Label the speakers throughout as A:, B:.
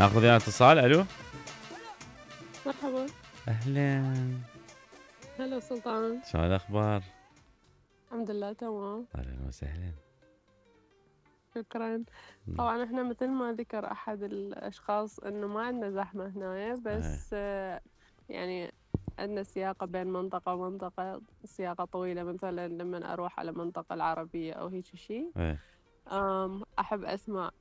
A: ناخذ يا اتصال. الو
B: مرحبا.
A: اهلا.
B: هلا سلطان.
A: شو الاخبار؟
B: الحمد لله تمام.
A: اهلا وسهلا.
B: شكرا. طبعا احنا مثل ما ذكر احد الاشخاص انه ما عندنا زحمة هنا، بس يعني عندنا سياقة بين منطقة ومنطقة، سياقة طويلة. مثلا لما اروح على منطقة العربية او هيك شيء احب اسمع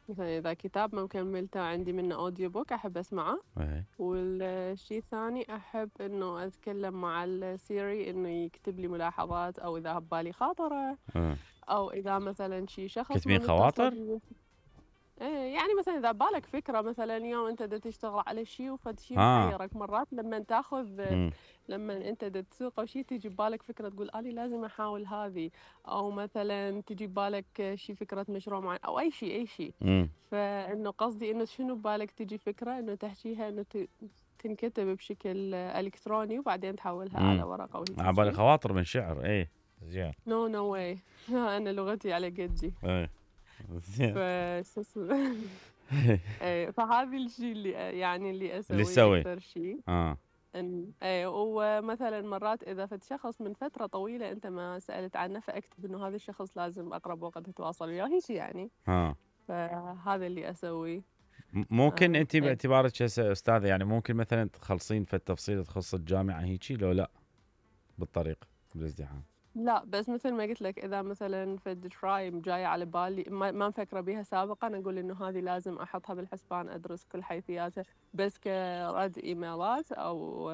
B: مثلا اذا كتاب ما مكملته عندي منه اوديو بوك احب اسمعه. والشيء الثاني احب انه اتكلم مع السيري انه يكتب لي ملاحظات، او اذا ببالي خاطره او اذا مثلا شي شخص
A: كتبين خواطر؟
B: يعني مثلا اذا بالك فكره، مثلا اليوم انت تشتغل على شيء وفد شيء محيرك، مرات لما تاخذ لما انت تسوق او شيء تجي ببالك فكره تقول اني لازم احاول هذه، او مثلا تجي ببالك شيء فكره مشروع معين او اي شيء. فانه قصدي انه شنو ببالك تجي فكره انه تحكيها انه تنكتب بشكل الكتروني وبعدين تحولها على ورقه وهيك.
A: عبالي خواطر من شعر. ايه زين.
B: نو واي. انا لغتي على قدي.
A: زين.
B: فهذا الشيء اللي يعني اللي
A: اللي
B: اسويه اكثر شيء.
A: ايه
B: ومثلا مرات اذا فد شخص من فتره طويله انت ما سالت عنه، فاكتب انه هذا الشخص لازم اقرب وقت اتواصل وياه هيك يعني. فهذا اللي اسويه.
A: ممكن انت باعتبارك هسه استاذه، يعني ممكن مثلا تخلصين في التفصيل تخص الجامعه هيك لو لا بالطريق بالازدحام؟
B: لا، بس مثل ما قلت لك اذا مثلا فد ترايم جايه على بالي ما مفكره بها سابقا، اقول انه هذه لازم احطها بالحسبان، ادرس كل حيثياتها. بس كرد ايميلات او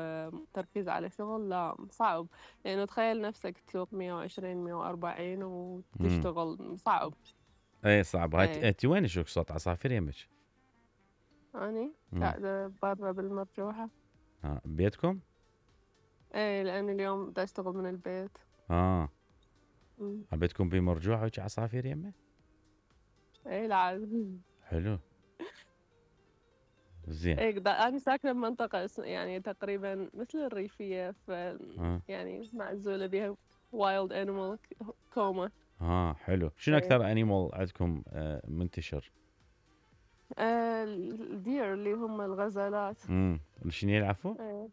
B: تركيز على شغل لا، صعب. لانه تخيل نفسك تسوق 120 140 وتشتغل، صعب.
A: ايه صعب. انت وين شوك صوت عصافير يمك؟
B: اني قاعده برا بالمرجوحه.
A: بيتكم؟
B: ايه، لان اليوم بدي اشتغل من البيت.
A: بيتكم بمرجوحه وهيك عصافير يمه؟
B: ايه العاد.
A: حلو. زين.
B: ايه انا ساكنه بمنطقه يعني تقريبا مثل الريفيه، ف يعني معزوله بها وايلد انيمال كوما.
A: حلو. شنو اكثر انيمال عندكم منتشر؟
B: الدير اللي هم الغزالات.
A: شنو يلعفوا؟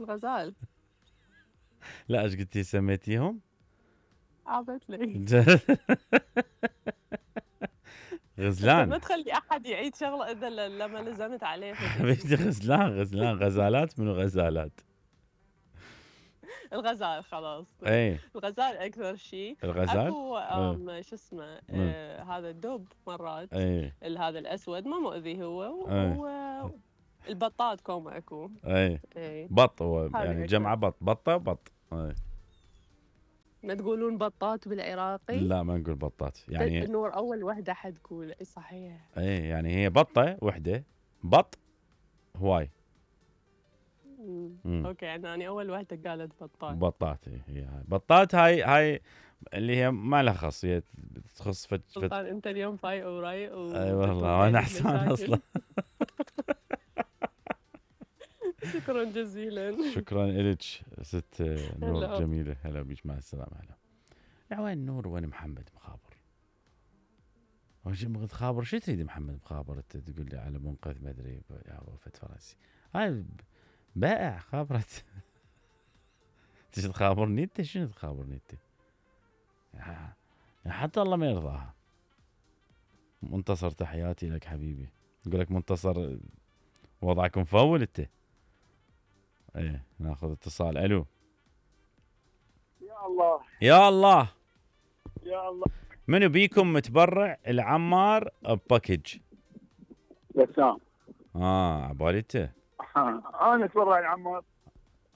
B: الغزال.
A: لا ايش قلتي سميتيهم؟
B: عبت لي.
A: غزلان.
B: ما تخلي احد يعيد شغله اذا لما لزمت عليه.
A: حبيبتي غزلان غزالات. منو غزالات؟
B: الغزال خلاص. الغزال اكثر شيء.
A: الغزال
B: اكو شو اسمه هذا الدب مرات. هذا الاسود ما مؤذي هو. البطات كوما اكو.
A: بط هو يعني جمع بطه.
B: ما تقولون بطات بالعراقي؟
A: لا ما نقول بطات يعني.
B: النور اول وحده حتقول صحيح.
A: يعني هي بطه وحده. بط هواي.
B: اوكي، يعني انا اول وحده قالت
A: بطات. هي بطات. هاي اللي هي ما لها خص، هي تخص
B: سلطان انت اليوم فايق ورايق
A: اي والله وانا حسان اصلا.
B: شكرا جزيلا.
A: شكرا لك ست نور جميله. هلا بيك، مع السلامه. هلا. وين نور وين محمد مخابر؟ خابر شو تريد محمد مخابر؟ انت تقول لي على منقذ ما ادري يا وفد فرنسي. هاي بائع خابرت. تجي تخابرني انت؟ شنو تخابرني انت؟ حتى الله ما يرضاها. منتصر تحياتي لك حبيبي. يقول لك منتصر وضعك مفول انت. ايه ناخذ اتصال. الو.
C: يا الله
A: يا الله
C: يا الله.
A: منو بيكم متبرع العمار بباكج؟
C: بسام.
A: عبالي انت.
C: انا اتبرع العمار.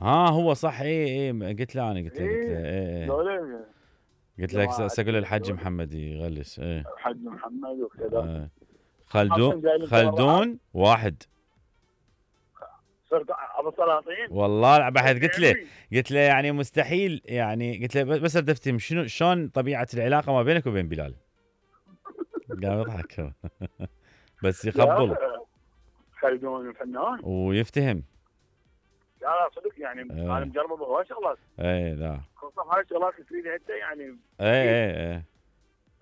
A: هو صح. ايه قلت له ايه قلت لك ساقول الحج محمد يغلس.
C: الحج محمد وكذا.
A: خلدون واحد.
C: صرت ابو سلاطين
A: والله بحث. قلت له يعني مستحيل، يعني قلت له بس اريد افتهم شلون طبيعه العلاقه ما بينك وبين بلال. قام يضحك. بس يقبل.
C: خلدون فنان
A: ويفتهم.
C: لا صدق يعني انا مجرب بهواي شغلات.
A: لا
C: خصوصا هاي الشغلات اللي تريدها انت يعني.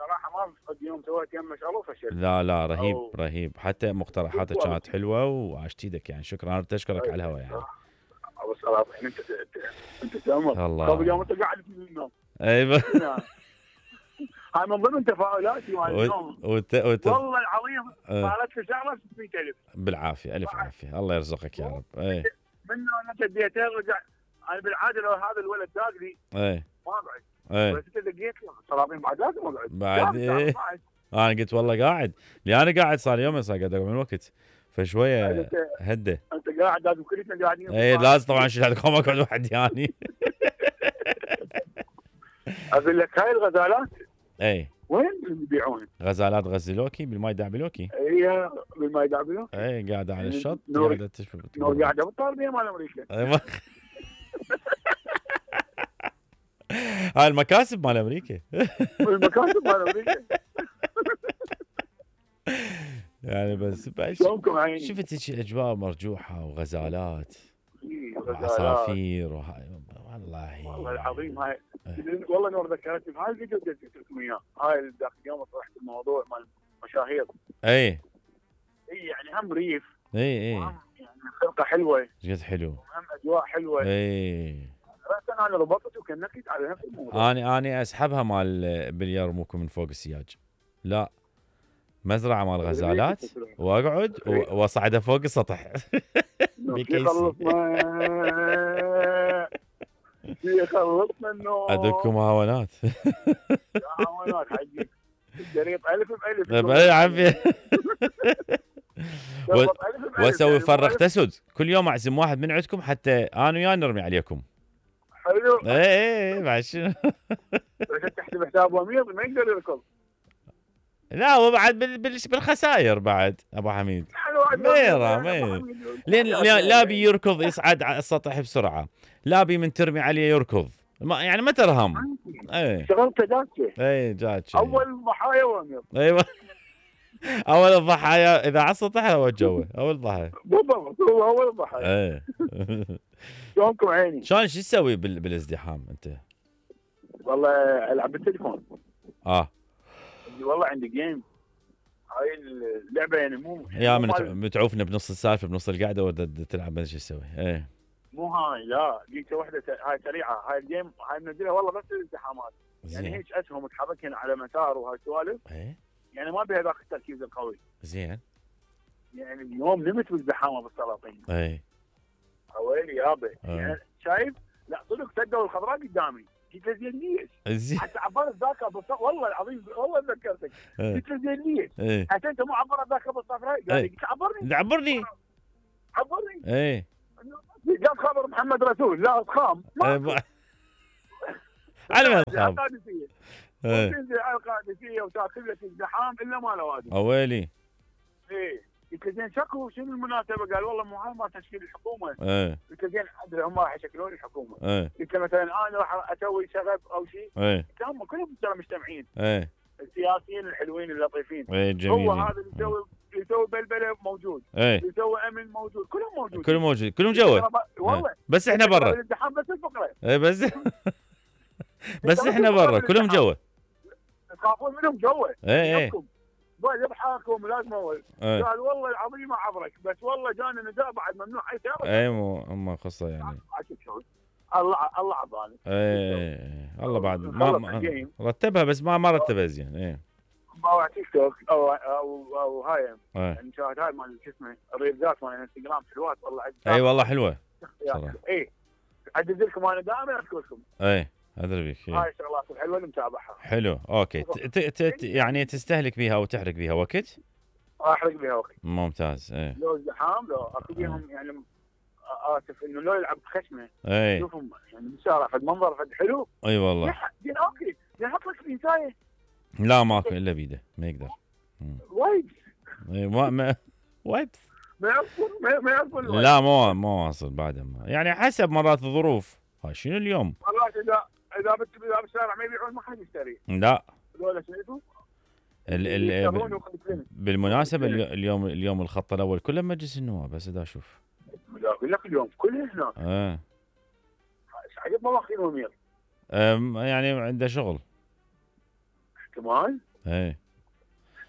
C: صراحه ما قد يوم سويت يمه شغله وفشلت.
A: لا رهيب
C: أو-
A: رهيب، حتى مقترحاتك كانت حلوه وعاشت ايدك يعني. شكرا، انا اشكرك على الهواء يعني.
C: ابو السلاطين انت تامر
A: الله.
C: قبل يوم انت قاعد في النوم.
A: ايوه.
C: هاي من ضمن تفاؤلاتي مال اليوم. والله العظيم صارت لي شغله 600000
A: بالعافيه، الف عافيه، الله يرزقك يا رب. اي
C: منه انا تديتين رجع. انا بالعاده لو هذا الولد داق لي
A: اي
C: ما اقعد.
A: اي
C: بس انت دقيت له السلاطين بعد لازم اقعد.
A: بعد ايه. انا قلت والله قاعد، لأن انا قاعد صار يومين صار قاعد اقعد من وقت، فشويه هدى.
C: انت قاعد لازم كلنا قاعدين.
A: اي لازم طبعا شيل هذا اقعد وحدي يعني.
C: اقول لك هاي الغزالات
A: اي
C: وين يبيعون؟
A: غزالات غزلوكي بالماي دعبلوكي.
C: هي بالماي دعبلو.
A: اي قاعده على الشط
C: نور
A: قاعده تشرب.
C: نور قاعده بالطالبيه مال امريكا.
A: ايوه. هاي المكاسب مال امريكا.
C: المكاتب مال امريكا.
A: يعني بس
C: شلونكم عيني؟
A: شفت هيك اجواء مرجوحه وغزالات
C: غزالات.
A: وعصافير والله
C: والله العظيم هاي والله نور ذكرتني بهاي الفيديو اللي قلت لكم اياه. هاي ذاك اليوم طرحت الموضوع مال مشاهير.
A: اي
C: اي يعني هم ريف.
A: اي
C: وهم يعني خلقه حلوه.
A: جد حلو.
C: وهم اجواء حلوه.
A: اي
C: بس انا ربطت وكنكت على نفس الموضوع.
A: اني اسحبها مال باليرموكو من فوق السياج. لا، مزرعه مال غزالات واقعد واصعدها فوق السطح.
C: يخلصنا يخلصنا النوم.
A: ادكم هاونات.
C: هاونات حجي الشريط الف بالف.
A: باي عافيه. واسوي فرخ تسد كل يوم، اعزم واحد من عندكم حتى انا وياه نرمي عليكم.
C: حلو.
A: اي بعد شنو.
C: بس تحسب حساب امير ما يقدر يركض.
A: لا وبعد بالخسائر بعد ابو حميد. ميرا لين لا بيركض يصعد على السطح بسرعه، لا بي من ترمي عليه يركض، يعني ما ترهم. اي
C: شغلته جاتشه.
A: اي جاتشه.
C: اول ضحايا وامير.
A: ايوه. اول الضحايا اذا على السطح هو الجو اول ضحايا.
C: بالضبط هو اول الضحايا.
A: اي.
C: شلونكم عيني؟
A: شلون شو تسوي بالازدحام انت؟
C: والله العب بالتليفون. والله عندي جيم. هاي اللعبه يعني مو
A: يا متعوفنا بنص السالفه بنص القعده ودا تلعب ما شو تسوي. ايه
C: مو هاي لا جيت واحده هاي سريعه. هاي الجيم هاي منزلها والله بس الازدحامات. يعني هيك اسهم متحركين على مسار وهاي السوالف.
A: ايه
C: يعني ما بها ذاك التركيز القوي.
A: زين.
C: يعني اليوم نمت بالزحامه بالسلاطين.
A: اي
C: ويلي يابا. يعني شايف؟ لا صدق سدوا الخضراء قدامي. قلت له زين ليش؟ حتى عبرت ذاك والله العظيم والله ذكرتك. قلت له زين ليش؟ حتى انت مو عبرت ذاك بالصفراء؟ قال لي عبرني.
A: ايه
C: جاب خبر محمد رسول لا اضخام.
A: على ما تخاف.
C: القادسيه. وتنزل على القادسيه وتاكل لك الزحام الا ما له وادي.
A: ويلي.
C: ايه قلت له زين شكو شنو المناسبه؟ قال والله مو هاي ما تشكيل الحكومه.
A: قلت
C: له زين ادري هم راح يشكلون الحكومه. قلت له مثلا انا راح اسوي شغب او شيء. قلت هم كلهم ترى مجتمعين. السياسيين الحلوين اللطيفين. هو هذا اللي يسوي بلبله موجود. يسوي امن موجود. كلهم موجود.
A: كلهم جوا.
C: والله
A: بس احنا برا.
C: الازدحام بس الفقره.
A: بس احنا برا كلهم جوا.
C: تخافون منهم جوا. يضحكوا لازم اول. قال والله العظيم ما عبرك بس والله جانا نداء بعد ممنوع اي سياره.
A: اي مو هم قصه يعني.
C: الله عبالي.
A: الله بعد ما رتبها بس ما رتبها زين.
C: ما تيك توك او هاي المشاهد هاي مال شو اسمه الريلزات مال انستغرام حلوات والله.
A: اي والله حلوه
C: صراحه. اي اعدد لكم انا دائما اذكركم.
A: ادري بك.
C: هاي الشغلات الحلوه اللي متابعها.
A: حلو اوكي. يعني تستهلك بيها وتحرق بيها وقت؟
C: احرق بيها وقت.
A: ممتاز.
C: لو زحام لو اكو بيهم يعني اسف انه لو يلعب بخشمه. شوفهم يعني بالشارع فد منظر فد حلو.
A: اي والله.
C: زين اوكي زين حط لك بنسايه.
A: لا ماكو الا بيده ما يقدر.
C: وايبس.
A: وايبس.
C: ما يعرفون.
A: لا مو واصل بعد يعني حسب مرات الظروف. هاي شنو اليوم؟
C: مرات اذا بالشارع ما يبيعون ما حد يشتري.
A: لا.
C: هذول شايفوا؟
A: بالمناسبة اليوم الخط الأول كله مجلس النواب بس دا أشوف.
C: أقول لك اليوم كله هناك. عجب ما واخذين أمير.
A: يعني عنده شغل.
C: احتمال.
A: اي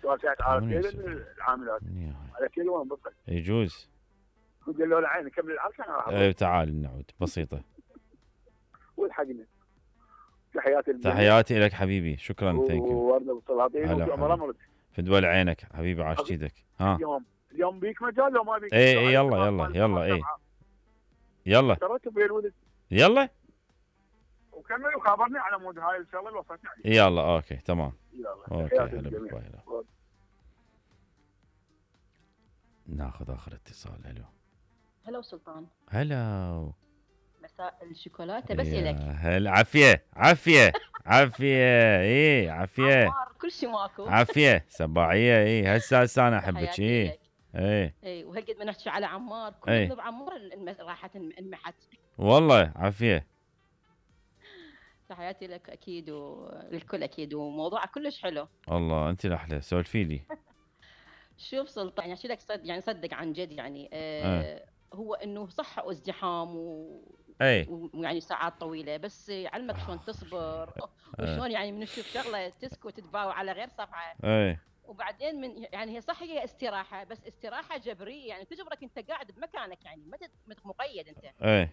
C: توسعت على كل العاملات على كل وين بطل
A: يجوز
C: قلت له العين كمل العركه انا راح
A: اي تعال نعود بسيطه.
C: والحقنا
A: تحياتي لك حبيبي، شكرا. ثانك يو.
C: وورده بالسلاطين
A: في دول عينك حبيبي، عاش ايدك. ها
C: اليوم بيك مجال لو ما بيك؟
A: اي يلا اي يلا يلا
C: وكمل وخابرني على مود هاي الشغله اللي وصلتني عليه.
A: يلا اوكي تمام. يلا اوكي هلا بالله. ناخذ اخر اتصال.
D: هلا سلطان.
A: هلا
D: مساء الشوكولاته بس الك.
A: هلا عافيه اي عافيه
D: كل شيء ماكو
A: عافيه سباعيه. اي هسه انا احبك. اي
D: وهالقد ما نحكي على عمار كل ذنوب عمار راحت انمحت
A: والله. عافيه
D: تحياتي لك اكيد وللكل اكيد، وموضوعك كلش حلو.
A: الله انت الاحلى، سولفي لي.
D: شوف سلطان يعني اشيل لك يعني صدق عن جد يعني هو انه صح ازدحام ويعني ساعات طويله، بس يعلمك شلون تصبر وشلون يعني من تشوف شغله تسكت تباوع على غير صفحه. وبعدين من يعني هي صح هي استراحه، بس استراحه جبريه يعني تجبرك انت قاعد بمكانك يعني ما مقيد انت.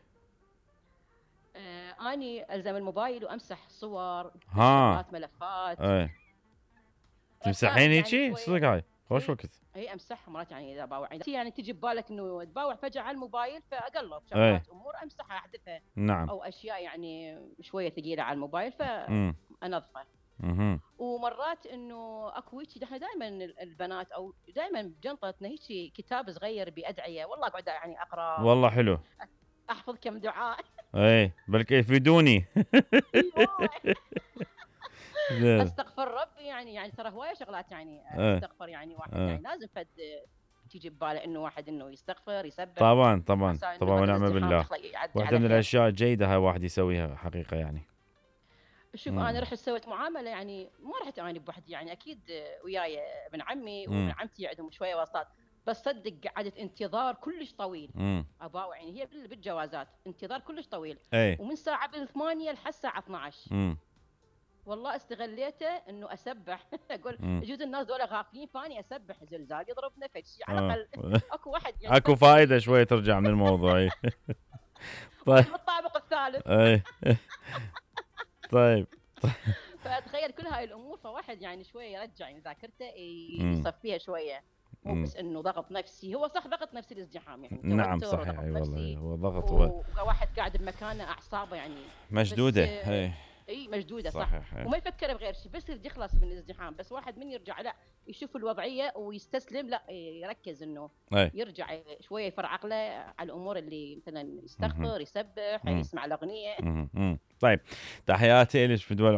D: اني الزم الموبايل وامسح صور ملفات.
A: تمسحين هيجي صدق؟ هاي خوش وقت.
D: اي امسحها مرات يعني اذا باوع يعني تجي ببالك انه تباوع فجاه على الموبايل فاقلب شغلات امور امسحها احذفها.
A: نعم.
D: او اشياء يعني شويه ثقيله على الموبايل فانظفها. ومرات انه اكو هيك احنا دائما البنات او دائما بجنطتنا هيك كتاب صغير بادعيه، والله قاعده يعني اقرا.
A: والله حلو.
D: احفظ كم دعاء.
A: بلكي يفيدوني.
D: استغفر ربي يعني ترى هوايه شغلات يعني استغفر يعني واحد يعني لازم فد تيجي بباله انه واحد انه يستغفر يسبح.
A: طبعا ونعم بالله. واحده من الاشياء الجيده هاي واحد يسويها حقيقه يعني.
D: شوف انا رحت سويت معامله يعني ما رحت اني بوحدي يعني اكيد وياي ابن عمي وابن عمتي عندهم شويه وساطات، بس صدق قعدت انتظار كلش طويل. اباوع يعني هي بالجوازات انتظار كلش طويل. ومن ساعه 8 لحد الساعه 12. والله استغليته انه اسبح. اقول يجوز الناس دول غافلين فاني اسبح زلزال يضربنا فشي على الاقل اكو واحد يعني
A: اكو فائده شويه ترجع من الموضوع.
D: طيب بالطابق الثالث.
A: طيب
D: فتخيل كل هاي الامور فواحد يعني شويه يرجع يعني ذاكرته يصفيها شويه، مو بس انه ضغط نفسي. هو صح ضغط نفسي الازدحام يعني.
A: نعم صحيح. اي والله هو ضغط.
D: وواحد قاعد بمكانه اعصابه يعني
A: مشدوده.
D: اي مشدوده صح. وما يفكر بغير شيء بس يريد يخلص من الازدحام. بس واحد من يرجع لا يشوف الوضعيه ويستسلم، لا يركز انه يرجع شويه يفرع عقله على الامور اللي مثلا يستغفر يسبح يسمع الاغنيه.
A: طيب تحياتي لك في دول